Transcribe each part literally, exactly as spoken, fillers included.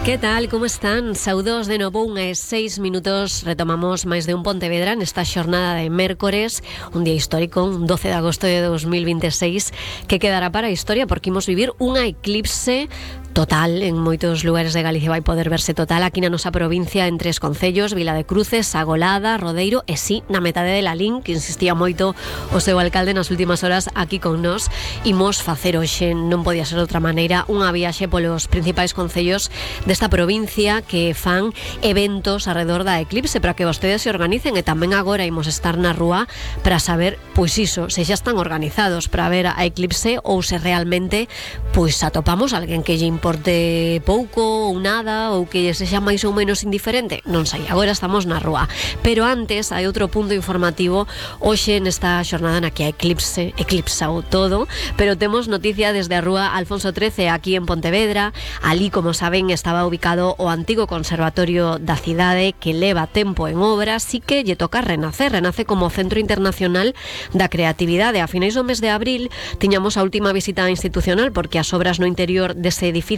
Que tal, como están? Saudos de novo, unha e seis minutos. Retomamos máis de un Pontevedra nesta xornada de mércores, un día histórico, un doce de agosto de dos mil veintiséis, que quedará para a historia porque imos vivir unha eclipse total. En moitos lugares de Galicia vai poder verse total. Aquí na nosa provincia, en tres concellos, Vila de Cruces, Sagolada, Rodeiro e sí, na metade de Lalín, que insistía moito o seu alcalde nas últimas horas aquí con nós. Imos facer hoxe, non podía ser de outra maneira, unha viaxe polos principais concellos desta provincia que fan eventos alrededor da eclipse para que vostedes se organicen, e tamén agora imos estar na rúa para saber, pois iso, se xa están organizados para ver a eclipse ou se realmente pois atopamos alguén que lle importe pouco ou nada, ou que sexa máis ou menos indiferente, non sei, agora estamos na rúa. Pero antes hai outro punto informativo hoxe nesta xornada na que a eclipse eclipsa o todo, pero temos noticia desde a rúa Alfonso trece aquí en Pontevedra. Ali, como saben, estaba ubicado o antigo conservatorio da cidade que leva tempo en obra, así que lle toca renacer, renace como Centro Internacional da Creatividade. A finais do mes de abril tiñamos a última visita institucional porque as obras no interior dese edificio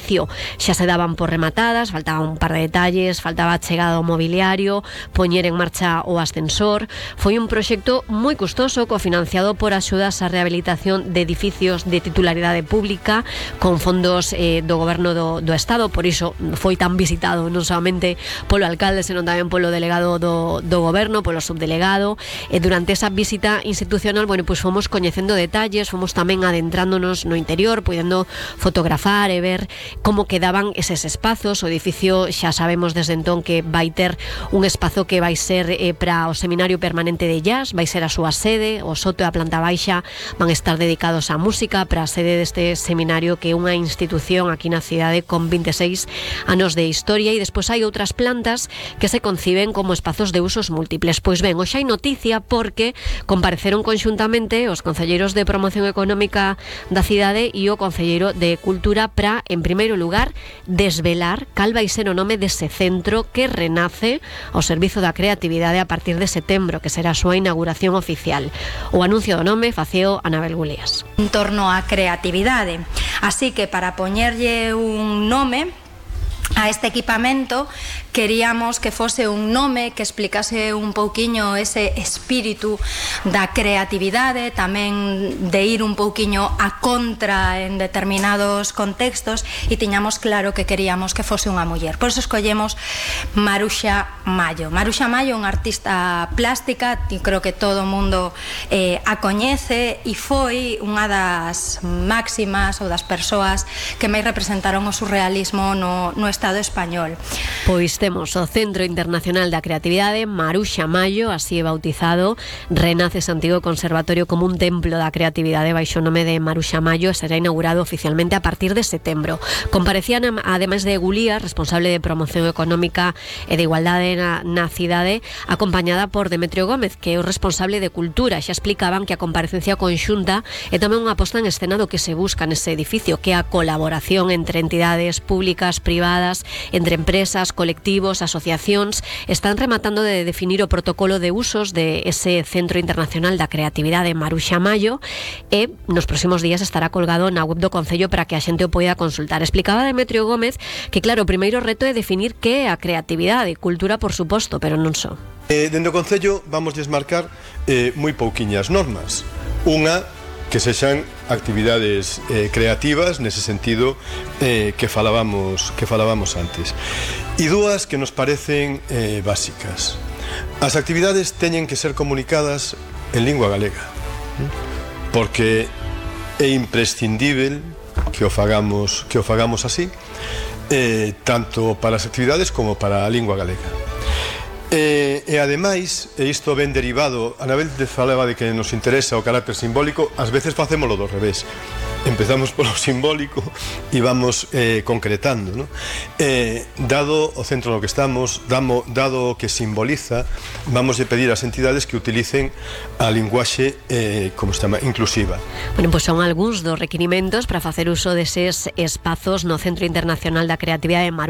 xa se daban por rematadas, faltaba un par de detalles, faltaba a chegada ao mobiliario, poñer en marcha o ascensor. Foi un proxecto moi custoso, cofinanciado por axudas á rehabilitación de edificios de titularidade pública con fondos eh, do goberno do, do Estado. Por iso foi tan visitado non solamente polo alcalde, senón tamén polo delegado do, do goberno, polo subdelegado. E durante esa visita institucional, bueno, pois fomos coñecendo detalles, fomos tamén adentrándonos no interior, podendo fotografar e ver como quedaban eses espazos. O edificio xa sabemos desde entón que vai ter un espazo que vai ser eh, para o Seminario Permanente de Jazz, vai ser a súa sede, o soto e a planta baixa van estar dedicados á música, para a sede deste seminario que é unha institución aquí na cidade con veintiséis anos de historia. E despois hai outras plantas que se conciben como espazos de usos múltiples. Pois ben, hoxe hai noticia porque compareceron conxuntamente os concelleiros de Promoción Económica da cidade e o concelleiro de Cultura para, en primeiro lugar, desvelar cal vai ser o nome dese centro que renace ao servizo da creatividade a partir de setembro, que será a súa inauguración oficial. O anuncio do nome faceo Anabel Gulías. En torno á creatividade. Así que para poñerlle un nome a este equipamento, queríamos que fose un nome que explicase un pouquiño ese espírito da creatividade, tamén de ir un pouquiño a contra en determinados contextos, e tiñamos claro que queríamos que fose unha muller. Por eso escollemos Maruxa Mallo. Maruxa Mallo é unha artista plástica, e creo que todo o mundo eh, a coñece, e foi unha das máximas ou das persoas que máis representaron o surrealismo no, no Estado español. Pois temos o Centro Internacional da Creatividade, Maruxa Mallo, así é bautizado. Renace ese antigo conservatorio como un templo da creatividade baixo o nome de Maruxa Mallo, e será inaugurado oficialmente a partir de setembro. Comparecían, ademais de Gulías, responsable de Promoción Económica e de Igualdade na, na cidade, acompañada por Demetrio Gómez, que é o responsable de Cultura. Xa explicaban que a comparecencia conxunta é tamén unha posta en escena do que se busca nese edificio, que é a colaboración entre entidades públicas, privadas, entre empresas, colectivos, asociacións. Están rematando de definir o protocolo de usos de ese Centro Internacional da Creatividade Maruxa Mallo, e nos próximos días estará colgado na web do Concello para que a xente o poida consultar. Explicaba Demetrio Gómez que, claro, o primeiro reto é definir que é a creatividade, cultura por suposto, pero non só. Eh, dende o Concello vamos desmarcar eh, moi pouquiñas normas. Unha, que sexan actividades eh, creativas nese sentido eh, que falábamos que falábamos antes, e dúas que nos parecen eh, básicas. As actividades teñen que ser comunicadas en lingua galega, porque é imprescindível que o fagamos que o fagamos así, eh, tanto para as actividades como para a lingua galega. E, e ademais, e isto ben derivado, Anabel falaba de que nos interesa o carácter simbólico, ás veces facémolo do revés. Empezamos polo simbólico e vamos eh, concretando, ¿no? Eh, dado o centro no que estamos, damo, dado o que simboliza, vamos a pedir ás entidades que utilicen a linguaxe eh, como se chama, inclusiva. Bueno, pois pues son algúns dos requirimentos para facer uso deses espazos no Centro Internacional da Creatividade de Maruxa